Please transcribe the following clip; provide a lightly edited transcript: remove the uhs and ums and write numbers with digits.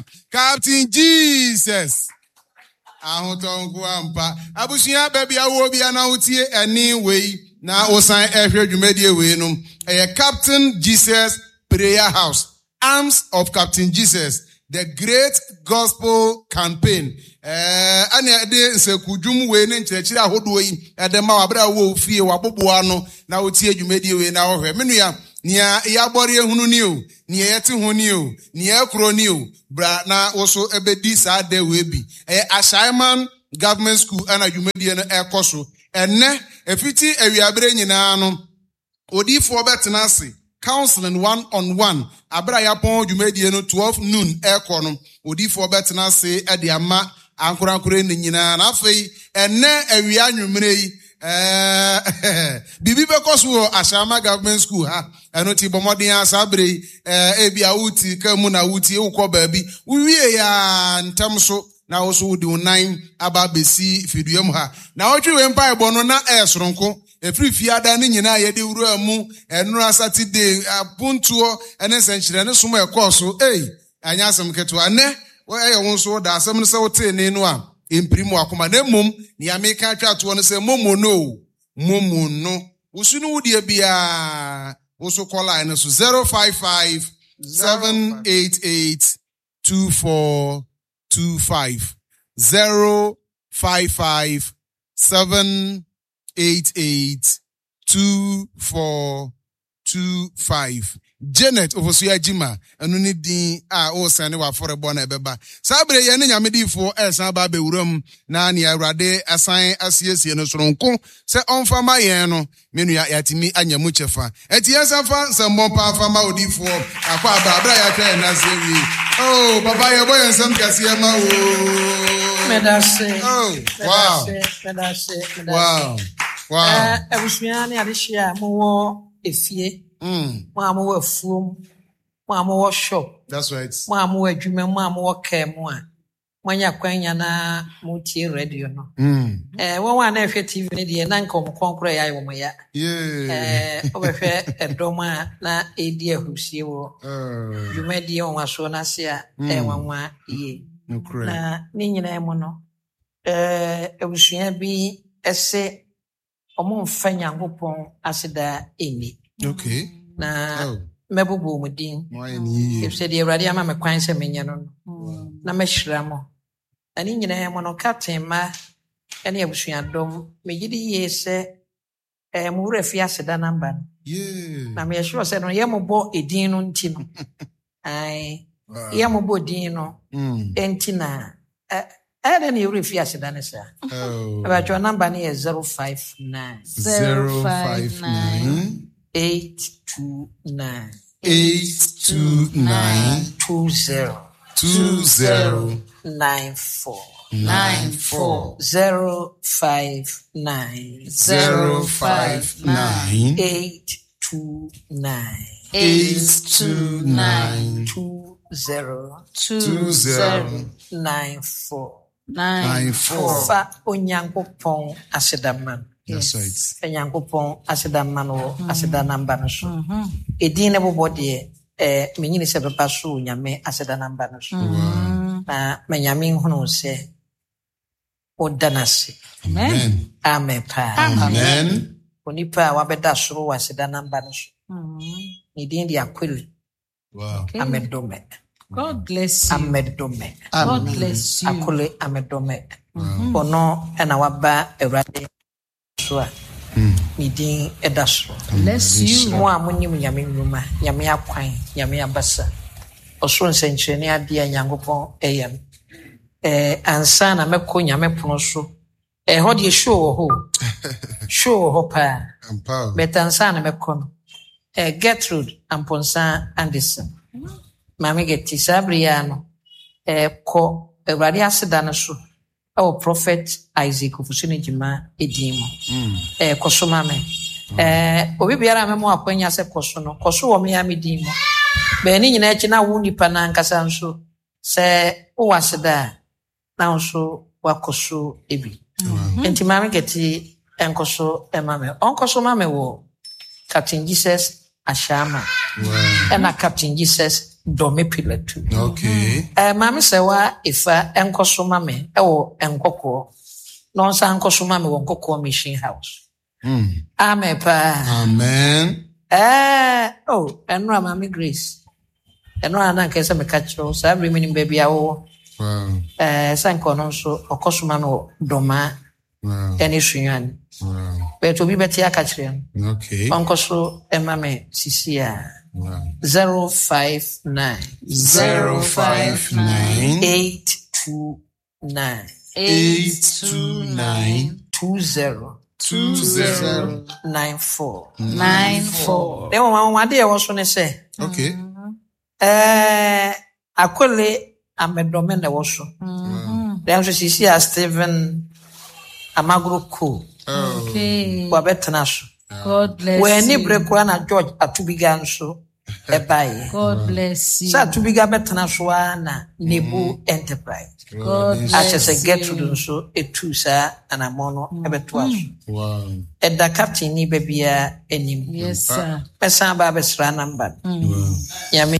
paa. Captain Jesus. Ahotɔ nko ampa. Abusua baabi a wowɔ bia na wotie ɛne wei na wosan ɛhwɛ dwumadie wei no. Ɛyɛ Captain Jesus Prayer House. Arms of Captain Jesus, The Great Gospel Campaign. Ɛne ɛde nsekudwom wei ne nkyerɛkyerɛ ahodoɔ yi ɛde ma wabere a wowɔ fie waboboa ano na wotie dwumadie wei na wɔhwɛ. Me nua, nea yɛabɔre ehunu ni o, nea yɛte ho ni o, nea ɛkorɔ ni o, bra na wo so ɛbɛdi saa da wei bi. Ɛyɛ Ashaiman Government School ɛna dwumadie no ɛkɔ so. Ɛnɛ, ɛfiti awiabere nyinaa no, Odiyifoɔ bɛtena ase, counseling one on one, abere a yɛapɔn dwumadie no 12 noon ɛrekɔ no, odiyifoɔ bɛtena ase de ama ankorankore no nyinaa. Na afei, ɛnɛ awia anwummerɛ yi, ɛɛ, biribi bɛkɔ so wɔ Ashama Government School ha. Ɛno ti bɔ mmɔden a saa bere yi, ɛɛ, ebi a woti ka mu na wotie wokɔ baabi, wowie ya ntɛm so na wo so wode wo nan aba abɛsi fidua mu ha. Na wotwe wei mpaebɔ no na ɛyɛ soronko. Ɛfiri fiada no nyinaa yɛde wuraa mu, ɛnora Saturday, apontoɔ ne nsɛnkyerɛnne som a ɛkɔɔ so. Ei, ɛnyɛ asɛm ketewa. Ɛnɛ, ɛyɛ wo nso wo da. Asɛm no sɛ wotee ne no a, ɛmpirim w'akoma. Na mmom, nea meka atwa toɔ no sɛ, momo no o, momo no. Wo so ne wo deɛ biara, wo so kɔ line no so 055 788 2425 055 7 88 24 25 Janet Ofosu Agyima ɛno ne din a ɔresan ne w'afɔrebɔ na ɛbɛba saa bere yɛn ne nyame diifoɔ ɛresan aba abɛwura mu na nea Awurade asan asiesie no soronko sɛ ɔmfa ma yɛn no me nua yɛatumi anya mu kyɛfa ɛnti yɛn nsa fa nsɛmbɔ paa fa ma odiifoɔ akɔ aba abere a yɛatwa yɛn nase awie oh papa yɛbɔ yɛn nsɛm kɛseɛ ma wo. Medase. Oh wow. Medase. Medase. Wow. Wow. Eh, abusua ne adehye a mowɔ efie. Mo a mowɔ afuom. Mo a mowɔ shop. That's right. Mo a mowɔ adwuma mo a mowɔ kaa mu a moanya kwan nya na motie radio no. Eh, wɔn a na ɛhwɛ TV no deɛ na nka wɔn kɔn koraa yɛ wɔn ya. Yeah. Eh, wobɛhwɛ ɛdɔm a na ɛredi ahurusie wɔ dwumadie nwanwasoɔ no ase a ɛyɛ nwanwa yie. Nokorɛ. Na ne nyinaa mu no, eh, abusua bi se wɔmfa Nyankopɔn aseda nni. Okay. Na Oh. mɛbobɔ wɔn din. Mo ayɛ ne yie. Efisɛ deɛ Awurade ama me kwan sɛ menyɛ no no, na mɛhyira mo. Na ne nyinaa mu no, Captain mma ne abusuadɔm, megye di yie sɛ eh, mo werɛ fi aseda namba no. Yeah. Na meyɛ sure sɛ no yɛ mobɔ edin no nti no. Ae, Wow. yɛ mobɔ din no nti na ɛyɛ dɛn na yɛ werɛ fi aseda no saa? Oh. Ɛbɛtwɛ namba no yɛ 059 059 829 829 20 20 94 94 059 059 829 829 20 20 94 94. Fa Onyankopɔn aseda ma no. That's right. Fa Nyankopɔn aseda ma no wɔ aseda namba no so. Edin no bobɔ deɛ, eh, menyini sɛ bɛba so wɔ Nyame aseda namba no so. Na ma Nyame nhunu wo sɛ woda no ase. Amen. Amen paa. Amen. Onipa a wabɛda soro wɔ aseda namba no so. Ne din de Akwele Wow. Amedome. God bless you. Amedome. God bless you. Akole Amedome. Ɔno ɛna waba Awurade so a ne din ɛda soro. Bless you. Mo a monim Nyame nnwuma, Nyame akwan, Nyame abasa, ɔsoro nsɛnkyerɛnne adeɛ a Nyankopɔn ɛyɛ no. Eh, ansa na mɛkɔ Nyame pono so. Ɛhɔ deɛ show wɔ hɔ o. Show wɔ hɔ paa. Ampa o. But ansa na mɛkɔ no, eh, Gertrude Amponsah Anderson, Maame Getty, saa bere yi ara no, eh, kɔ Awurade aseda no so ɛwɔ Prophet Isaac Ofosu ne Gyima edin mu. Eh, kɔ so ma me. Eh, obi biara a mɛma akwanya sɛ kɔ so no, kɔ so wɔ me ara me din mu. Bɛn ne nyinaa akyi na wo nipa no ankasa nso, sɛ wowɔ aseda a, na wo nso wakɔ so bi. Nti Maame Getty nkɔ so ma me. Ɔnkɔ so ma me wɔ Captain Jesus Ashama ɛna Captain Jesus Dome Pillar 2. Okay. Maame Sɛwa Efa nkɔ so ma me wɔ Nkɔkɔɔ na ɔnsan nkɔ so ma me wɔ Nkɔkɔɔ Mission House. Amen paa. Amen. Oh, ɛno a Maame Grace. Ɛno a na nka sɛ meka kyerɛ wo saa bere menim baabi a wowɔ. Wow. Sɛ nka ɔno nso ɔkɔ so ma me wɔ Dɔmaa Wow. ɛne Sunyani. Wow. But obi bɛte aka kyerɛ no. Okay. Ɔnkɔ so ɛma me sisi a. Wow. 059 059 829 829 20 20 94. 94. Na mmom anwanwade a ɛwɔ so ne sɛ, Okay. Akole Amedɔme na ɛwɔ so. Nanso sisi a Stephen Amagoro Cole Okay. wabɛtena so. God bless Wɔanni you. bere koraa na George Atubiga nso ɛbaeɛ. God bless you. Sɛ Atubiga bɛtena so ara na Nebu Enterprise God akyɛ sɛ bless Gertrude you. nso etu saa anammɔn no ɛbɛtoa so. Wow. Ɛda captain ni baabiara anim. Yes, sir. Mɛsan aba abɛsra namba no. Wow. Nyame.